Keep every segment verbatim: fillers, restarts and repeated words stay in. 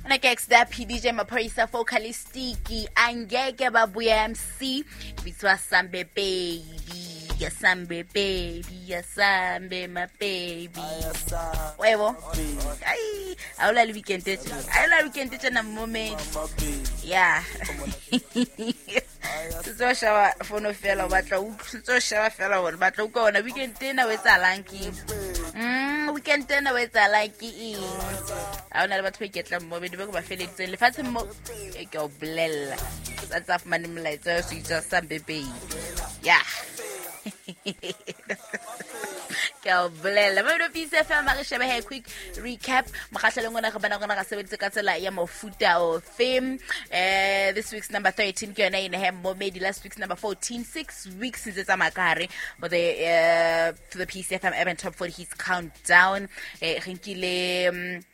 Ona ke X-Dap D J Maphorisa, Focalistic, Angeke Babuya M C, bitswa Sambe Baby. Ya Sambe baby, ya Sambe my baby. Webo. Ai, awula le weekend e tjena. Awula weekend e tjena moment. Yeah. Setse o sheba fono fela, o batla o setse o sheba fela hore batla utlwa ona weekend ena o etsahalang ke eng. Mm, weekend ena o etsahalang ke eng? Ha ona le batho ba iketlang mo bedi ba ko ba feleditseng lefatsheng mo e ke o bolella. Sa tsa fumane molaetsa wa se itsa Sambe baby. Yeah. Ke a o bolela Mamelodi Peace F M. A re shebe he quick recap mokgahlelong ona re bona rona ra sebeditse ka tsela ya mofuta ofe. eh this week's number thirteen ke yona ene he momedi. Last week's number fourteen, six weeks ntse tsamaya ka hare for the uh, for the Peace F M Urban Top forty Hits Countdown. eh re nkile um,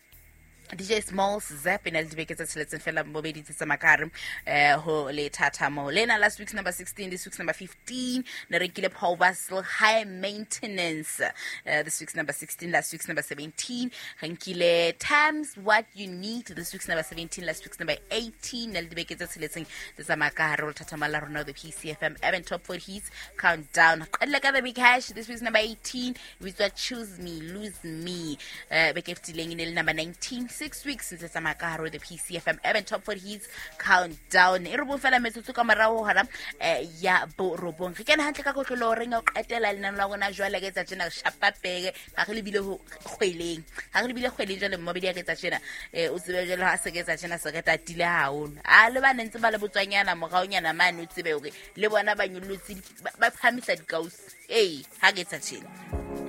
D J Smalls Zap e na le dibeke tse tsheletseng fela mobedi tse tsamaya ka hare eh ho lethathamo lena. Last week's number sixteen, this week's number fifteen. Ne re nkile Paul Basel, High Maintenance, uh, this week's number sixteen, last week's number seventeen. Re nkile Times, What You Need, this week's number seventeen, last week's number eighteen, na le dibeke tse tsheletseng tse tsamaya ka hare ho lethathamo la rona, the P C F M Urban Top forty Hits Countdown. Qedile ka The Big Hash, this week's number eighteen, bitswa Choose Me Lose Me. uh, beke e fetileng e ne le number nineteen, six weeks ntse tsamaya ka hare ho the P C F M Urban Top forty Hits Countdown. E re bong fela metsotso ka morao hora eh, ya borobong, re kene hantle ka kotlolo reng ya ho qetela lenano la rona. Jwale ke etsa tjena, re shapa peke ga re lebile ho kgweleng, ga re lebile kgweleng. Jwale mmobedi ya ke etsa tjena, eh, o tsebe jwale ha se ke etsa tjena se re tatile haholo. A le ba ne ntse ba le botswanyana moraonyana mane, o tsebe hore le bona ba nyollotse, ba ba phahamisa dikausi. Ee, ha re etsa tjena,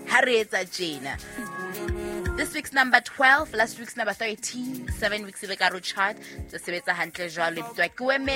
ha re etsa tjena. This week's number twelve, last week's number thirteen, seven weeks e be ka ro chart tse sebetsa hantle jwalo, e bitswa Ke Weme.